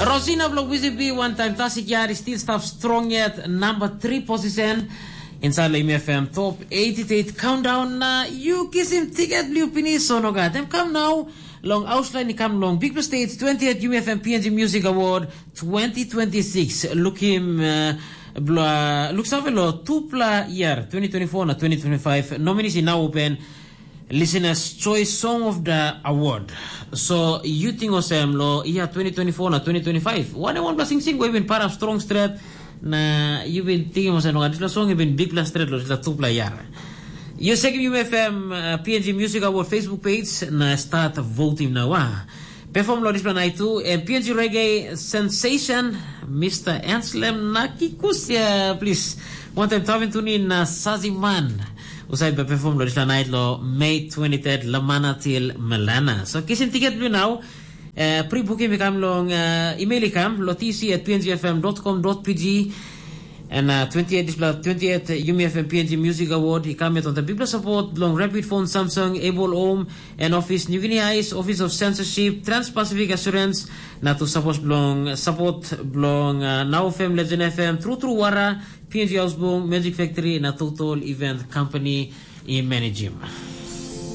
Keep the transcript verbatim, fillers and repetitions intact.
Rosina bilong Wizibi, wantaim Tasik Yari, still stap strong yet, number three position. Inside Lame F M top eighty-eight countdown na you kisim ticket liu pinis so no gat. Em kam now long Auslan i kam long Big Stage twentieth U M F M P N G Music Award twenty twenty-six. Lukim uh, bla, luksave lo tupla year twenty twenty-four na twenty twenty-five nominees in now open listeners choice song of the award. So you think osem lo year twenty twenty-four na twenty twenty-five? One one plus sing sing we been para strong straight na you been thinking osem lo this song been big plus straight lo this tupla year. You check U M F M uh, P N G Music Award Facebook page na start voting now. Ah. Perform lo dispela night tu em P N G Reggae Sensation, Mister Anslem Nakikusia, please. One time tavin tuni na Saziman. Usai be perform lo dispela night lo May twenty-third, Lamana til Melana. So kisim ticket blue now. Uh, pre-booking we come long uh, email i come lo T C at P N G F M dot com dot P G. And uh, twenty-eight dispela twenty-eight U M F M P N G Music Award i come yet on the bigla support long Rapid Phone, Samsung, Able Home and Office, New Guinea Ice, Office of Censorship, Trans-Pacific Assurance, na tu support belong support belong uh, Now F M, Legend F M, True True Wara, P N G Housebong, Magic Factory, na Total Event Company i managim.